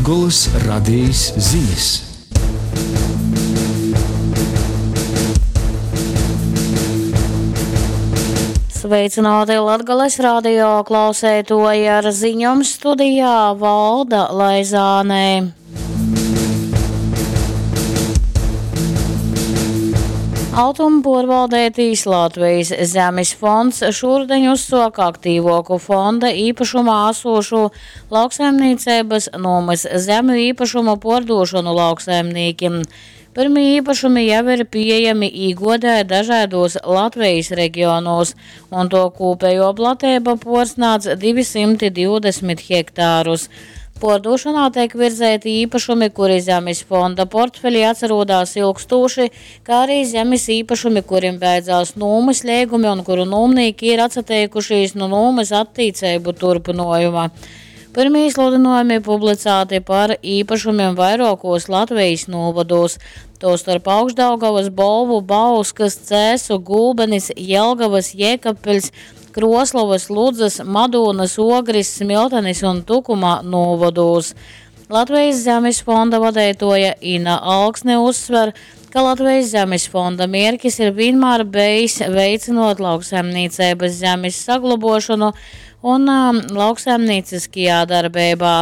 Latgolys Radejis zinis. Sveicināti Latgales radio klauseitoji ar ziņom studijā Valda Laizānē. Altuma puorvaldētīs Latvijas zemes fonds šūrudiņ uzsuoka aktīvuoku fonda īpašumā asūšū lauksaimnīceibys nūmys zemju īpašumu puordūšonu lauksaimnīkim. Pyrmī īpašumi jau ir pīejami īguodē dažaidūs Latvejis regionūs, un tuo kūpejuo plateiba puorsnādz 220 hektārus. Puordūšonā teik virzeiti īpašumi, kuri zemis fonda portfelī atsarūdās ilgstūši, kā arī zemis īpašumi, kurim beidzās nūmys leigumi un kuru nūmnīki ir atsateikušīs nu nūmys attīceibu turpynuojuma. Pyrmī sludynuojumi publicāti par īpašumim vairuokūs Latvejis nūvodūs, tūstorp Augšdaugavys, Bolvu, Bauskys, Cēsu, Gulbenis, Jelgavys, Jēkabpiļs, Kruoslovys, Ludzys, Madūnys, Uogris, Smiltenis un Tukuma nūvodūs. Latvejis Zemis fonda vadeituoja Ina Alksne uzsver, ka Latvejis Zemis fonda mierkis ir vīnmār bejs veicynuot lauksaimnīceibys zemis saglobuošonu un lauksaimnīcyskajā darbeibā.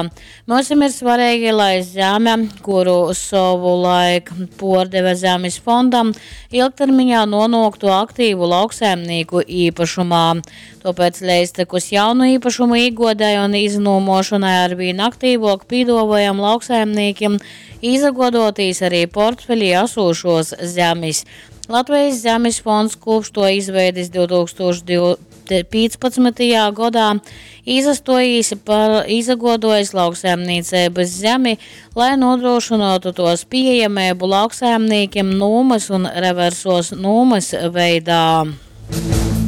Myusim ir svareigi, lai zeme, kuru sovulaik puordeve Zemis fondam, ilgtermiņā nūnuoktu aktīvu lauksaimnīku īpašumā. Tuopēc leidztekus jaunu īpašumu īguodei un iznūmuošonai arvīn aktīvuok pīduovojam lauksaimnīkim īsaguoduotīs arī portfelī asūšuos zemis. Latvejis Zemis fonds kopš tuo izveidis 2015. godā īsastuojīs par īsaguoduojs lauksaimnīceibys zemi, lai nūdrūšynuotu tuos pīejameibu lauksaimnīkim nūmys un reversuos nūmys veidā.